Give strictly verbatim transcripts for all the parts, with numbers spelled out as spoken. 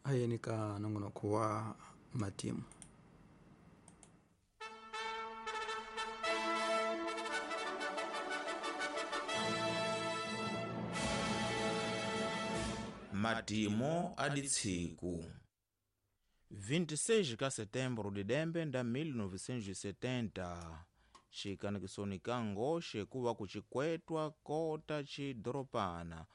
Hayeni ka nongonoko wa matimu. Matimo aditsiku vinte e seis ka setembro de dembe nda mil novecentos e setenta, xikanikisoni ka ngoxe kuva kucikwetwa kota xidoropana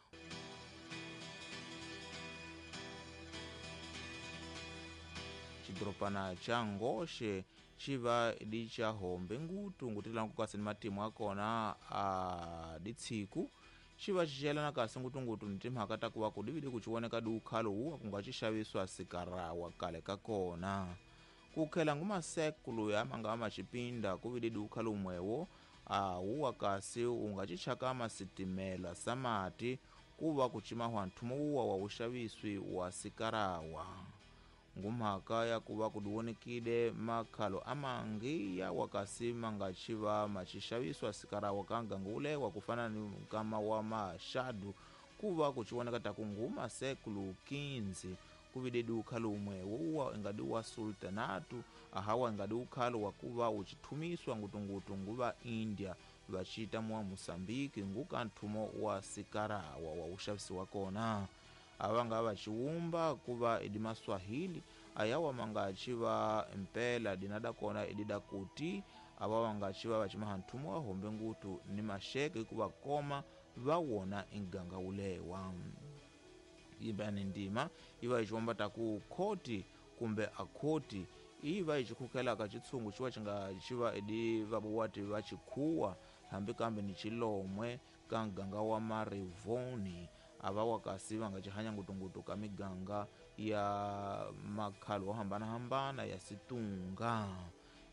xidoropana xa ngoxe xiva di xa hombe ngutu ngutilanku kasi ni matimu akona a ditsiku xiva xixelana kasi ngutungutu ni timhaka ta kuva ku dividi ku xiwoneka di ukhalo wuwa ku nga xixaviswa sikarawa kale ka kona ku khela ngumasekulu ya manga ma xipinda ku vidi di ukhalo umwewo a wuwa kasi u nga xichaka masitimela samati ku va ku cimahwa nthumo wuwa wa wuxaviswi wa sikarawa ngumhaka ya kuva ku diwonekile makhalo amangi ya wakasi manga xiva maxixaviswa sikarawa ka ngangulewa ku fana ni nkama wa maxadu ku va ku xiwoneka ta ku nguma sekulu quinze ku vide di ukhalo umwe wuwa ingadi wa sultanatu ahawa ingadi ukhalo wa kuva uchithumiswa ngutungutu nguva India vachita mwa Mosambiki nguka nthumo wa sikarawa wa uxavisi wa kona avanga vaxiwumba kuva idi maswahili ayawa manga xiva mpela dinada kona idida kuti ava vanga xiva vaximaha nthumo wa hombe ngutu ni maxeke kuva koma va wona inganga wulewa yimbani ndima iva yi ta ku khoti kumbe akhoti iva yi xikhukelaka xitshungu xiva xi nga xiva idi vabuwati va xikhuwa hambi kambe ni xilomwe ka nganga wa marivoni ava wakasi va nga xihanya ngutungutu ka miganga ya makhalo wo hambanahambana ya situnga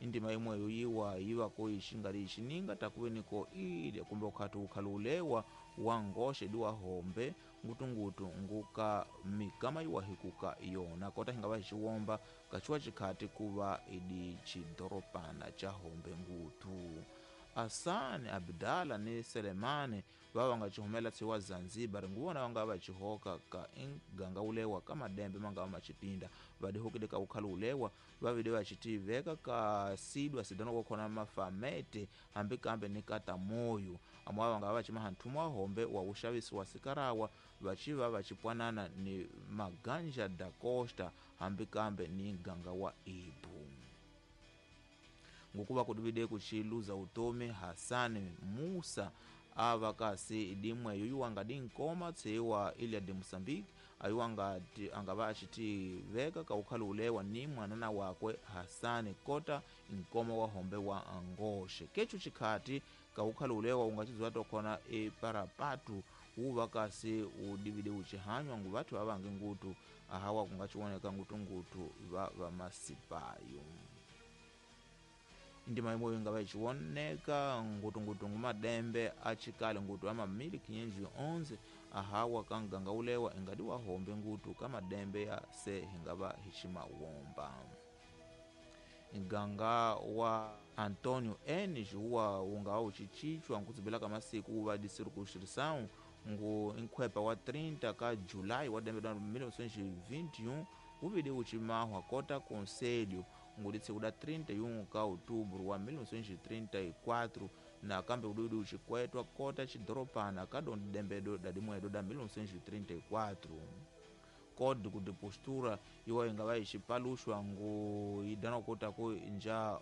indima imweyo yiwa yiva ko yi xinga li xininga takuve niko ile kumbe ukhati ukhalulewa wa ngoxe di wa hombe ngutungutu nguka mikama yiwa hikuka yona kota hinga va xiwomba kaxiwa xikhati kuva idi xidoropana xa hombe ngutu Asani Abdala ni Selemani va va nga xihumela tsiwa Zanzibar nguvona va nga va xihoka ka inganga ulewa ka madembe manga ma xipinda va dihokile ka ukhalo ulewa va vide va xitiveka ka sidwa sidana ko khona mafamete hambi kambe ni kata moyo amwa va nga va ximaha nthumo wa hombe wa uxavisi wa sikarawa va xiva va xipwanana ni Maganja da Costa hambi kambe ni ganga wa Ibu ngukuva kudivide kuxiluza utomi Hasani Musa ava kasi dimwe yoyiwanga dinkoma tseiwa ilha de Moçambique ayiwanga angava axitiveka ka ukhalo ulewa ni mwanana wakwe Hasani kota nkoma wa hombe wa angoxe kechu xikhati ka ukhalo ulewa ungaxidziwa tokhona eparapatu wuva kasi udivide uxihanywa nguvathu vavangi ngutu ahawa kungaxiwoneka ngutungutu va vamasipayo ndima imwe inga va xiwoneka ngutungutu ngumadembe achikale ngutu ama mil quinhentos e onze ahawa ka nganga ulewa ingadi wa hombe ngutu ka madembe ya se hinga va hixima womba nganga wa Antônio Enes wa unga wa uchichichwa nkutsibela ka masiku wa de circunscrição ngu nkhwepa wa trinta ka July wa dembe da mil novecentos e vinte e um uvide uchimahwa kota conselho nguditsi da trinta e um ka outubro wa mil novecentos e trinta e quatro na kambe ududi uxikwetwa kota xidoropana ka dembedo da dimwedo da mil novecentos e trinta e quatro código de postura iwa inga va yi xipaluxwa ngu yi dana kota ku nja